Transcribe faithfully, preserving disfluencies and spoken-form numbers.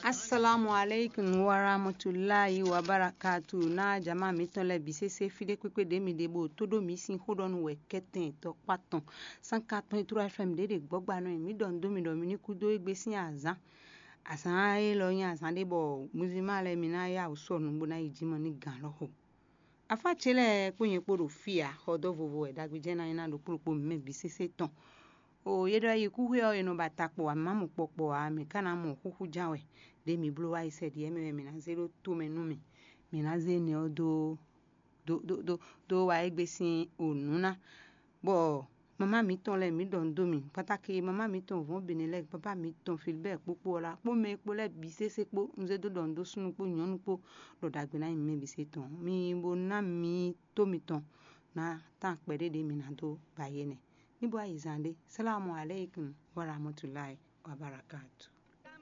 Assalamu alaikum warahmatullahi wabarakatuh. Na jama mǐtɔn lɛ́ɛ bǐ sésé fí ɖé kpékpé ɖě mi ɖe bó tó ɖó mǐ sín xó ɖɔ nú wɛ kɛ́tɛn tɔkpá tɔn sánka tɔn e tló F M ɖě ɖe gbɔ́gba nɔ nyi mǐ ɖɔ nǔ dó mi ɖɔ mi ní kú dó égbé sín azǎn. Azǎn élɔ́ nyí azǎn ɖé bɔ muzima lɛ́ɛ mi ná yá wǔ sɔ nǔ bó ná yi jí mɔ ní gǎn lɔ́ xo. Afá ce lɛ́ɛ kpó nyɛ kpó ɖo fí ǎ, xɔdó vovo wɛ ɖagbe jɛ́n ná nyí ná ɖokpó ɖokpó mǐ mɛ bǐ sésé tɔn. O yě ɖɔ yi kúxwé ɔ́, è nɔ ba ta kpɔ ǎ, mǐ má mɔ kpɔ kpɔ ǎ, mǐ ka ná mɔ xúxú ján wɛ. Ɖě mǐ bló wá yi sɛ ɖi ɛ́ mɛ wɛ mǐ ná zé ɖó tomɛ nú mì. Mǐ ná zé énɛ́ ɔ́ dó dó dó dó dó wá égbé sín o nǔ ná, bɔ mamá mǐtɔn lɛ́ɛ mǐ ɖɔ nǔ dó mì kpátákí, mamá mǐtɔn vɔ̌n bǐ lɛ́ɛ, baba mǐtɔn Filibɛ́ɛ kpó kpó ɔ́ lá kpó mɛ kpó lɛ́ɛ bǐ sésé kpó, un zé dó ɖɔ nǔ dó súnnu kpó nyɔ̌nu kpó, ɖɔ ɖagbe ná nyi mɛ bǐ sé tɔn. Mi bo ná mi tó mitɔn ná tán kpɛɖé ɖě mi ná dó ba yé nɛ. Ní bó ayizan ɖé. Salamu aleykum wa rahmatulahi wa barakatu.